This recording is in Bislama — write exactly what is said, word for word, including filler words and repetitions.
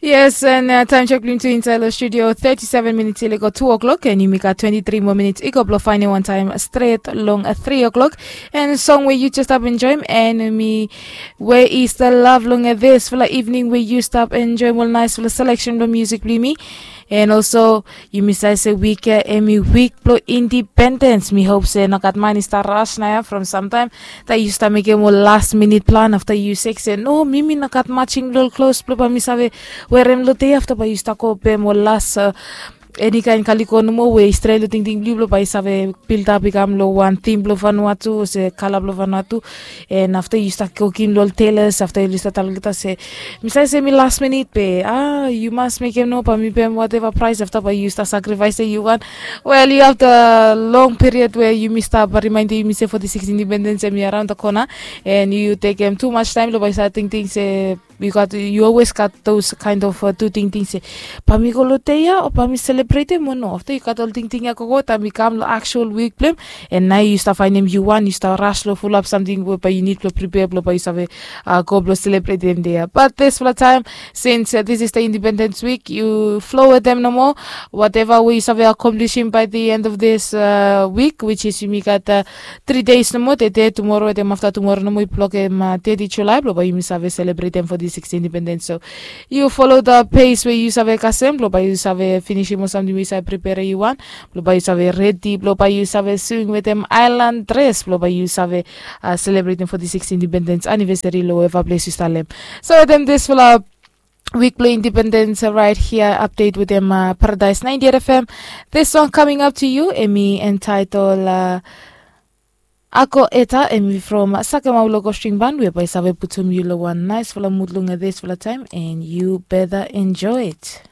Yes, and uh, time check blong tu inside the studio, thirty-seven minutes i go two o'clock, and yumi gat twenty-three more minutes i go blong finding one time straight long uh, three o'clock. And song where you just stop enjoy, and me, where is the love long uh, this for the evening where you stop enjoy, well, nice for the selection of music blong me. And also, yumi save se wik ya hemi wik blong independens. Mi hop se nogat man i stap ras naoia from samtaem, taem yu stap mekem ol last minute plan afta yu sek se no, mi mi nogat matching blong ol klos blong bae mi save werem long dei afta bae yu stap go pem ol las, eni kaen kaliko nomo we i stret long tingting blong yu blong bae yu save bildap i kam long wan tim blong Vanuatu olse kala blong Vanuatu. And afta yu stap kukim long ol telas afta yu stap talem olgeta se mi save se mi las minit be a yu mas mekem no bae mi pem wateva praes afta bae yu stap sakrifaesem yu wan. Wel, yu have the long period we yumi stap rimaendem yumi se foti sikis indipendens hemi araon the kona. And yu tekem tumas taem long bae yu save tingting se yu gat yu always gat those kind of uh, tu tingting se bae mi go long dei ya o bae mi selebretem o no afta yu gat ol tingting ya gogo taem i kam long aksual wik blong hem. And naoia yu stap faenem yu wan yu stap ras long fulap samting we bae yu nid blong pripea blong bae yu save uh, go blong selebretem dei ya. But dispela taem since uh, this is the independence week yu flow wetem nomo wateva we yu save akomplisim by the end of this uh, week, which is yumi gat uh, three days nomo, tede, tumoro wetem afta tumoro nomo i blokem uh, thirty July blong bae yumi save selebretem foti sikis indipendens. So yu follow the pace we yu save kasem blong bae yu save finisim ol samting we yu save prepare yu wan blong bae yu save redi blong bae yu save swing wetem island dress blong bae yu save uh, selebretem foti sikis indipendens anivesari long weva ples yu stap lem. So wetem dispela wik blong indipendens right here update wetem uh, Paradise ninety-eight F M. This song coming up to you hemi entitle uh, Ako Eta, hemi from Sakemau Logo String Band we bae save putum yu long wan nice fala mut long this fala taem and you better enjoy it.